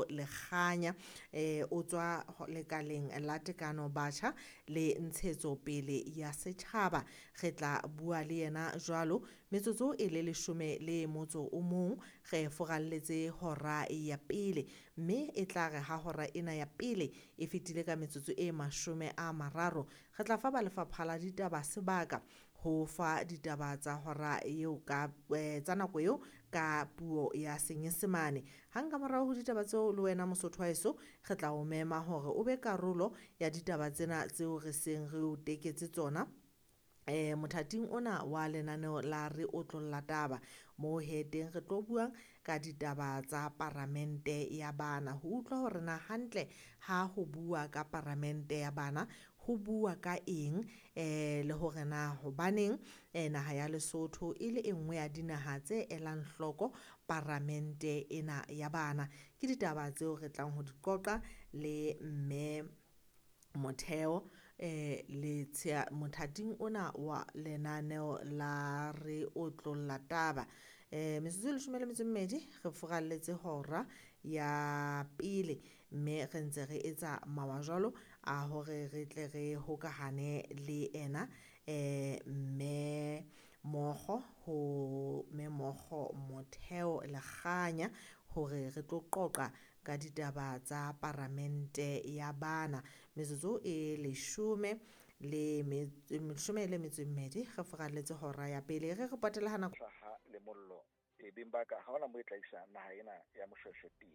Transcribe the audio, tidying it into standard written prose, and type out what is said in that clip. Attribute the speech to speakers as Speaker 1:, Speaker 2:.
Speaker 1: Motheo Lekganya. O tswa lekaleng la tekano batjha le ntshetsopele ya setjhaba. Re tla bua le yena jwalo metsotso e le 11 re foralletse hora ya pele, mme e tla re ha hora ena ya pele e fetile ka metsotso e 30, re tla fa ba lefapha la ditaba sebaka ho fa ditaba tsa hora eo ka tsa nako eo ka puo ya Senyesemane. Hang ka morao ho ditaba tseo le wena Mosotho wa heso, re tla o mema hore o be karolo ya ditaba tsena tseo re seng re o teketse tsona mothating ona wa lenaneo la Re Otlolla Taba, moo he teng re tlo buang ka ditaba tsa paramente ya bana, ho utlwa hore na hantle ha ho bua ka paramente ya bana ho bua ka eng, le hore na hobaneng naha ya Lesotho e le e nngwe ya dinaha tse elang hloko paramente ena ya bana. Ke ditaba tseo re tlang ho di qoqa le mme Motheo le mothating ona wa lenaneo la Re Otlolla Taba. Metsotso e 12 re foralletse hora ya pele, mme re ntse re etsa mawa jwalo a hore re tle re hokahane le ena mme Mokgo, ho mme Mookgo Motheo Lekganya, hore re tlo qoqa ka ditaba tsa paramente ya bana. Metsotso e 12 re foralletse hora ya pele. Re re potela ha nako
Speaker 2: hlaha le mollo, beng ba ka ha hona moo e tla isa naha ena ya Moshoeshoe teng.